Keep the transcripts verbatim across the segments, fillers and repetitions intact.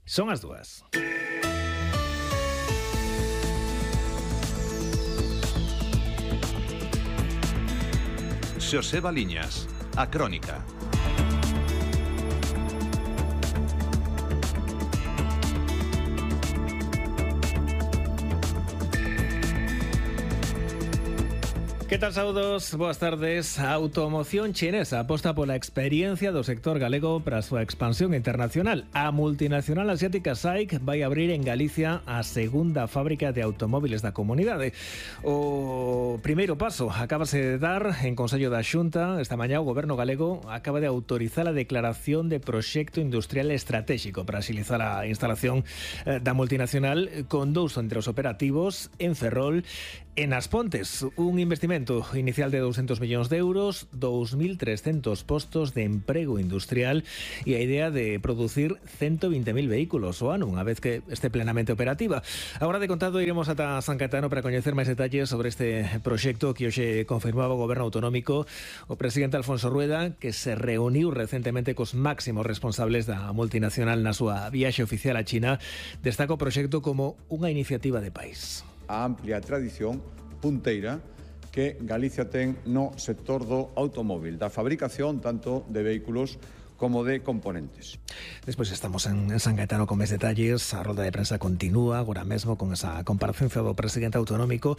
Son as dúas. Xosé Baliñas, a Crónica. Que tal, saudos? Boas tardes. A automoción chinesa aposta pola experiencia do sector galego para a súa expansión internacional. A multinacional asiática S A I C vai abrir en Galicia a segunda fábrica de automóviles da comunidade. O primeiro paso acábase de dar en Consello da Xunta. Esta mañá o Goberno galego acaba de autorizar a declaración de proxecto industrial estratégico para axilizar a instalación da multinacional con dous centros operativos en Ferrol e nas Pontes. Un investimento inicial de doscientos millóns de euros, dos mil trescentos postos de emprego industrial e a idea de producir ciento veinte mil vehículos ao ano, unha vez que este plenamente operativa. Agora de contado iremos ata San Caetano para coñecer máis detalles sobre este proxecto que hoxe confirmaba o Goberno Autonómico. O presidente Alfonso Rueda, que se reuniu recentemente cos máximos responsables da multinacional na súa viaxe oficial a China, destaca o proxecto como unha iniciativa de país. A amplia tradición punteira que Galicia ten no sector do automóvil, da fabricación tanto de vehículos como de componentes. Despois estamos en San Caetano con máis detalles. A rolda de prensa continúa agora mesmo con esa comparecencia do presidente autonómico.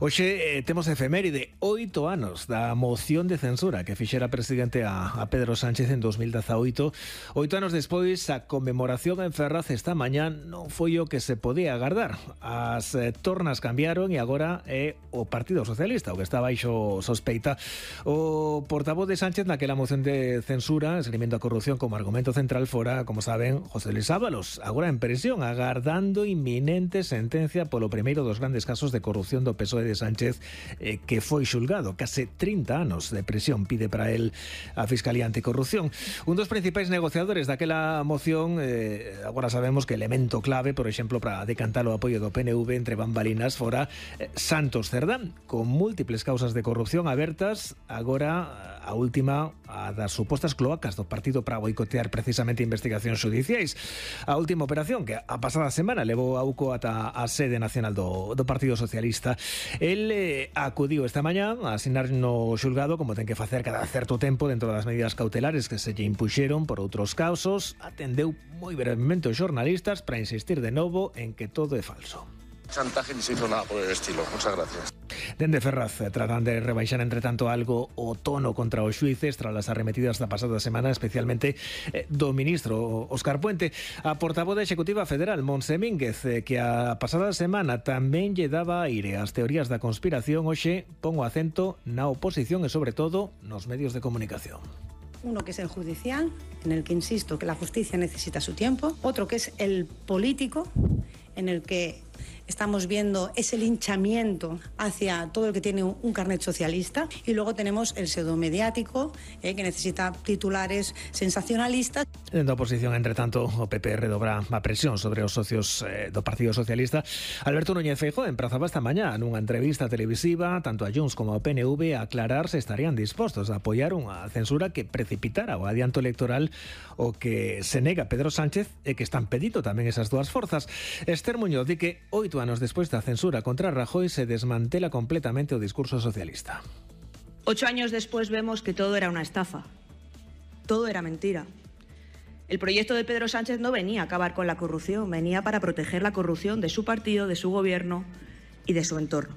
Hoxe eh, temos efeméride, oito anos da moción de censura que fixera presidente a, a Pedro Sánchez en dos mil dezaoito. Oito anos despois, a conmemoración en Ferraz esta mañá non foi o que se podía agardar. As eh, tornas cambiaron e agora é o Partido Socialista o que está baixo sospeita. O portavoz de Sánchez naquela moción de censura, esgrimindo a corrupción como argumento central, fora, como saben, José Luis Ábalos, agora en prisión, agardando inminente sentencia polo primeiro dos grandes casos de corrupción do P S O E de Sánchez, eh, que foi xulgado. Case trinta anos de prisión pide para él a Fiscalía Anticorrupción. Un dos principais negociadores daquela moción, eh, agora sabemos que elemento clave, por exemplo, para decantar o apoio do P N V entre bambalinas, fora eh, Santos Cerdán, con múltiples causas de corrupción abertas, agora a última a das supostas cloacas do partido para boicotear precisamente investigacións xudiciais. A última operación que a pasada semana levou a UCO ata a sede nacional do, do Partido Socialista. El eh, acudiu esta mañá a asinar no xulgado, como ten que facer cada certo tempo dentro das medidas cautelares que se lle impuxeron por outros casos. Atendeu moi brevemente os xornalistas para insistir de novo en que todo é falso. Chantaje ni se hizo nada por el estilo. Muchas gracias. Dende Ferraz tratan de rebaixar entre tanto algo o tono contra os xuíces tras as arremetidas da pasada semana, especialmente eh, do ministro Óscar Puente. A portavoz da Executiva Federal, Montse Mínguez, eh, que a pasada semana tamén lle daba aire ás teorías da conspiración, hoxe pon o acento na oposición e sobre todo nos medios de comunicación. Uno que es el judicial, en el que insisto que la justicia necesita su tiempo. Otro que es el político, en el que estamos viendo ese linchamiento hacia todo el que tiene un carnet socialista. Y luego tenemos el pseudomediático, eh, que necesita titulares sensacionalistas. En da oposición, entre tanto, o P P redobra a presión sobre os socios eh, do Partido Socialista. Alberto Núñez Feijóo emprazaba esta mañá nunha entrevista televisiva tanto a Junts como ao P N V a aclarar se estarían dispostos a apoiar unha censura que precipitara o adianto electoral o que se nega Pedro Sánchez e que están pedindo tamén esas dúas forzas. Esther Muñoz di que oito anos despois da censura contra Rajoy se desmantela completamente o discurso socialista. Ocho años después vemos que todo era una estafa. Todo era mentira. El proyecto de Pedro Sánchez no venía a acabar con la corrupción, venía para proteger la corrupción de su partido, de su gobierno y de su entorno.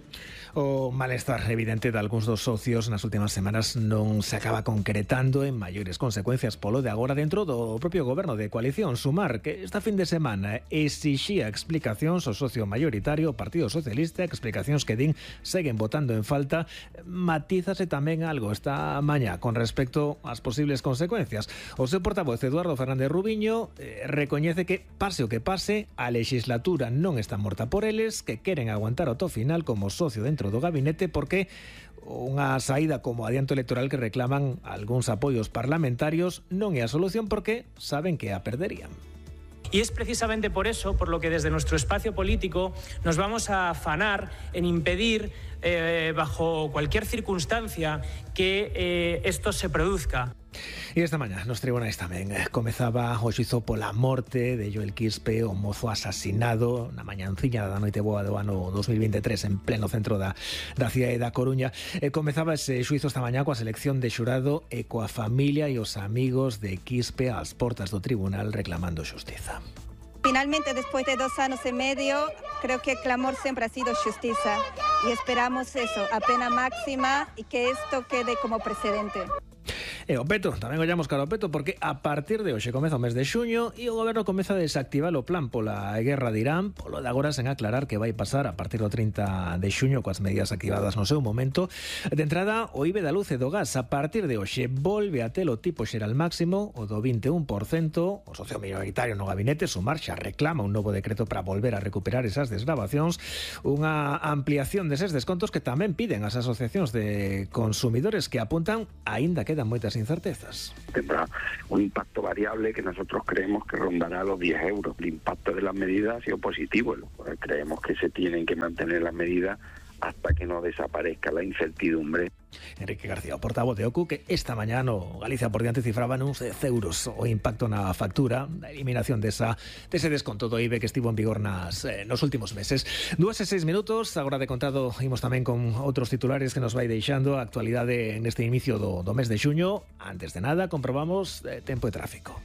O malestar evidente de algúns dos socios nas últimas semanas non se acaba concretando en maiores consecuencias polo de agora dentro do propio goberno de coalición. Sumar que esta fin de semana exixía explicacións ao socio maioritario, o Partido Socialista, explicacións que din seguen votando en falta. Matízase tamén algo esta mañá con respecto ás posibles consecuencias. O seu portavoz Eduardo Fernández Rubiño eh, recoñece que pase o que pase, a legislatura non está morta por eles, que queren aguantar ao to final como socio dentro do gabinete porque unha saída como adianto electoral que reclaman algúns apoios parlamentarios non é a solución porque saben que a perderían. Y es precisamente por eso por lo que desde nuestro espacio político nos vamos a afanar en impedir eh, bajo cualquier circunstancia que eh, esto se produzca. E esta mañá nos tribunais tamén comezaba o xuízo pola morte de Joel Quispe, o mozo asasinado na mañanciña da noite boa do ano dos mil veintitrés en pleno centro da, da cidade da Coruña. E comezaba ese xuízo esta mañá coa selección de xurado e coa familia e os amigos de Quispe ás portas do tribunal reclamando xustiza. Finalmente, después de dos años y medio, creo que el clamor siempre ha sido justicia y esperamos eso, a pena máxima y que esto quede como precedente. E o peto, tamén ollamos cara ao peto porque a partir de hoxe comeza o mes de xuño e o goberno comeza a desactivar o plan pola guerra de Irán, polo de agora sen aclarar que vai pasar a partir do trinta de xuño coas medidas activadas no seu momento. De entrada, o I B E da luz e do gas a partir de hoxe volve a ter o tipo xeral máximo, o do vinte e un por cento. O socio minoritario no gabinete Sumar xa reclama un novo decreto para volver a recuperar esas desgravacións, unha ampliación deses descontos que tamén piden as asociacións de consumidores que apuntan aínda quedan moitas incertezas. Tendrá un impacto variable que nosotros creemos que rondará los diez euros. El impacto de las medidas ha sido positivo. Creemos que se tienen que mantener las medidas hasta que no desaparezca la incertidumbre. Enrique García, o portavoz de O C U, que esta mañá no Galicia por diante cifraba nuns dez euros o impacto na factura da eliminación desa, dese desconto do I B E que estivo en vigor nas, eh, nos últimos meses. Dúas e seis minutos, agora de contado imos tamén con outros titulares que nos vai deixando a actualidade neste inicio do, do mes de xuño. Antes de nada, comprobamos eh, tempo e tráfico.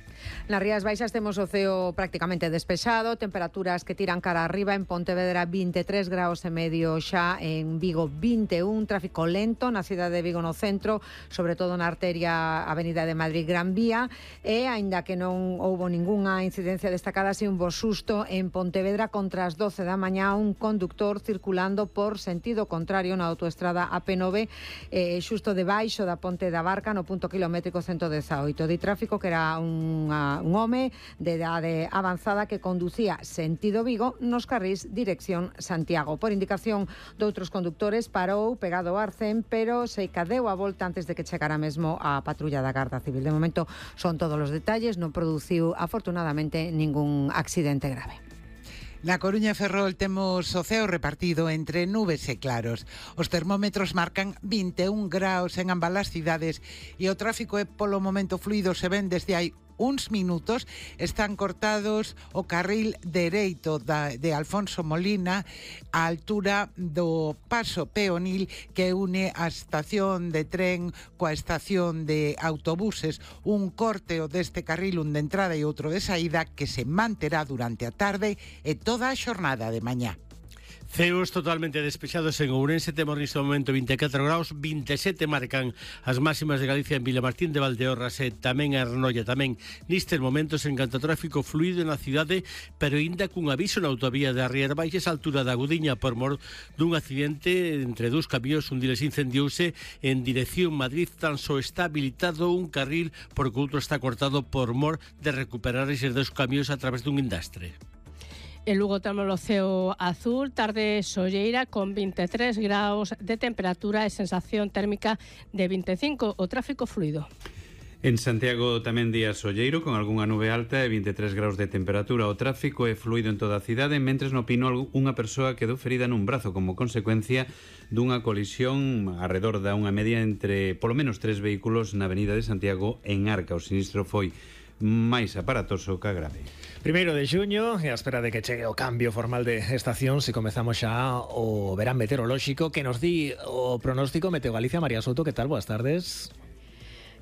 Nas Rías Baixas temos o ceo prácticamente despexado, temperaturas que tiran cara arriba, en Pontevedra vinte e tres graus e medio xa, en Vigo vinte e un, tráfico lento na cidade de Vigo no centro, sobre todo na arteria Avenida de Madrid Gran Vía, e aínda que non houbo ningunha incidencia destacada, así un bo susto en Pontevedra contra as doce da mañá, un conductor circulando por sentido contrario na autoestrada A P nove, eh, xusto debaixo da Ponte da Barca, no punto kilométrico ciento dezaoito. Di tráfico que era unha, un home de idade avanzada que conducía sentido Vigo nos carrís dirección Santiago. Por indicación de outros conductores, parou pegado ao arcén, pero se cadeu a volta antes de que chegara mesmo a patrulla da Garda Civil. De momento son todos os detalles, non produciu afortunadamente ningún accidente grave. Na Coruña e Ferrol temos o ceo repartido entre nubes e claros. Os termómetros marcan vinte e un graus en ambas as cidades e o tráfico é polo momento fluido. Se ven desde hai uns minutos, están cortados o carril dereito da, de Alfonso Molina á altura do paso peonil que une a estación de tren coa estación de autobuses. Un corteo deste carril, un de entrada e outro de saída, que se manterá durante a tarde e toda a xornada de mañá. Ceos totalmente despexados en Ourense, temos neste momento vinte e catro graus, vinte e sete marcan as máximas de Galicia en Vilamartín de Valdeorras e tamén a Arnoia. Tamén nestes momentos en canto a tráfico fluido na cidade, pero ainda cun aviso na autovía de Rías Baixas, a altura da Agudiña, por mor dun accidente entre dous camións. Un deles incendiouse en dirección Madrid, tan só está habilitado un carril porque outro está cortado por mor de recuperar eses dous camións a través dun indastre. En Lugo temos o ceo azul, tarde solleira con vinte e tres graus de temperatura e sensación térmica de vinte e cinco, o tráfico fluido. En Santiago tamén día solleiro con algunha nube alta e vinte e tres graus de temperatura. O tráfico é fluido en toda a cidade, mentres no Pino unha persoa quedou ferida nun brazo como consecuencia dunha colisión arredor da unha media entre polo menos tres vehículos na avenida de Santiago en Arca. O sinistro foi máis aparatoso que grave. Primeiro de xuño, e a espera de que chegue o cambio formal de estación, se comezamos xa o verán meteorolóxico que nos di o pronóstico Meteo Galicia. María Soto, que tal? Boas tardes.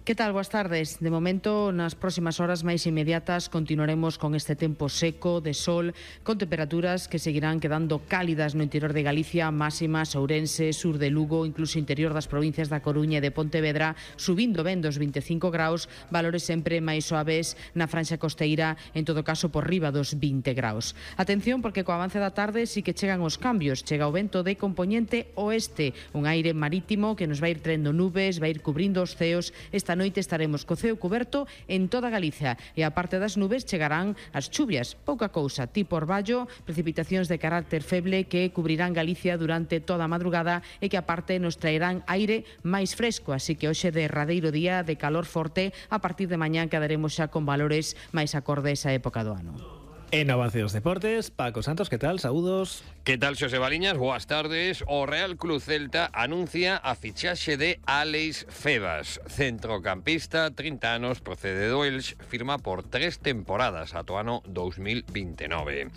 Que tal? Boas tardes. De momento, nas próximas horas máis inmediatas continuaremos con este tempo seco, de sol, con temperaturas que seguirán quedando cálidas no interior de Galicia, máximas Ourense, sur de Lugo, incluso interior das provincias da Coruña e de Pontevedra, subindo ben dos vinte e cinco graus, valores sempre máis suaves na franxa costeira, en todo caso por riba dos vinte graus. Atención, porque co avance da tarde sí que chegan os cambios. Chega o vento de compoñente oeste, un aire marítimo que nos vai ir traendo nubes, vai ir cubrindo os ceos. Esta noite estaremos co ceo cuberto en toda Galicia e a parte das nubes chegarán as chuvias, pouca cousa, tipo orballo, precipitacións de carácter feble que cubrirán Galicia durante toda a madrugada e que a parte nos traerán aire máis fresco, así que hoxe derradeiro día de calor forte. A partir de mañán quedaremos xa con valores máis acordes á época do ano. En avance dos deportes, Paco Santos, ¿qué tal? Saúdos. ¿Qué tal, Xosé Baliñas? Boas tardes. O Real Club Celta anuncia a fichaxe de Álex Febas, centrocampista, trinta anos, procede do Elx, firma por tres temporadas ata o ano dous mil vintenove.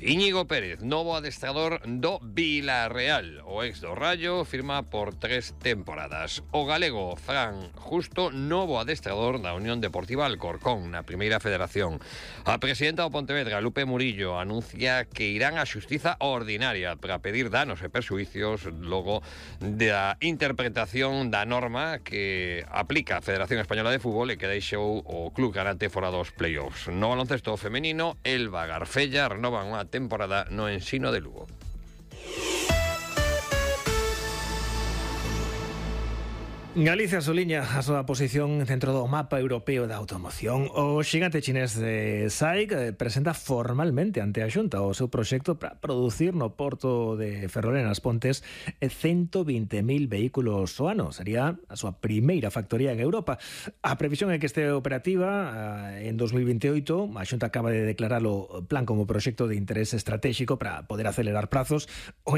Íñigo Pérez, novo adestrador do Villarreal. O ex do Rayo firma por tres temporadas. O galego Fran Justo, novo adestrador da Unión Deportiva Alcorcón, na Primeira Federación. A presidenta do Pontevedra, Lupe Murillo, anuncia que irán á xustiza ordinaria para pedir danos e perxuicios logo da interpretación da norma que aplica a Federación Española de Fútbol e que deixou o club Granate fora dos play-offs. No baloncesto femenino, Elba Garfella renova unha temporada no Ensino de Lugo. Galicia suliña a súa posición dentro do mapa europeo da automoción. O xigante chinés de SAIC presenta formalmente ante a Xunta o seu proxecto para producir no porto de Ferrol en As Pontes ciento vinte mil vehículos ao ano. Sería a súa primeira factoría en Europa. A previsión é que este operativa en dos mil veintioito. A Xunta acaba de declarar o plan como proxecto de interés estratégico para poder acelerar prazos. O